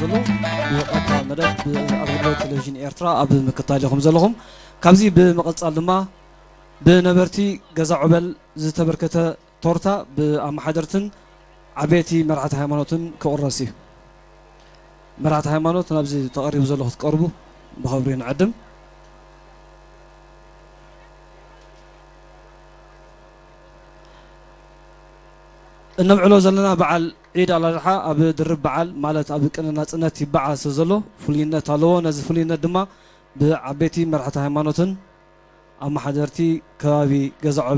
ዘሎ ብቐጥታ መደብ ብኣገልግሎት ቴሌቪዥን ኤርትራ ኣብ ምክታል ኢኹም ዘለኹም። ካብዚ ብምቕጻል ድማ ብነበርቲ ገዛ ዑበል ዝተበርከተ ቶርታ ብኣመሓደርትን ዓበይቲ መራሕቲ ሃይማኖትን ክቑረስ እዩ። መራሕቲ ሃይማኖት ናብዚ ተቐሪቡ ዘሎ ክትቀርቡ ብኸብሪ ንዕድም። እነብዕሎ ዘለና በዓል ዒድ ኣልኣድሓ ኣብ ድርብ በዓል፣ ማለት ኣብ ቅነ ናጽነት ይበዓል ስለ ዘሎ ፍሉይነት ኣለዎ። ነዚ ፍሉይነት ድማ ብዓበይቲ መራሕቲ ሃይማኖትን ኣመሓደርቲ ከባቢ ገዛ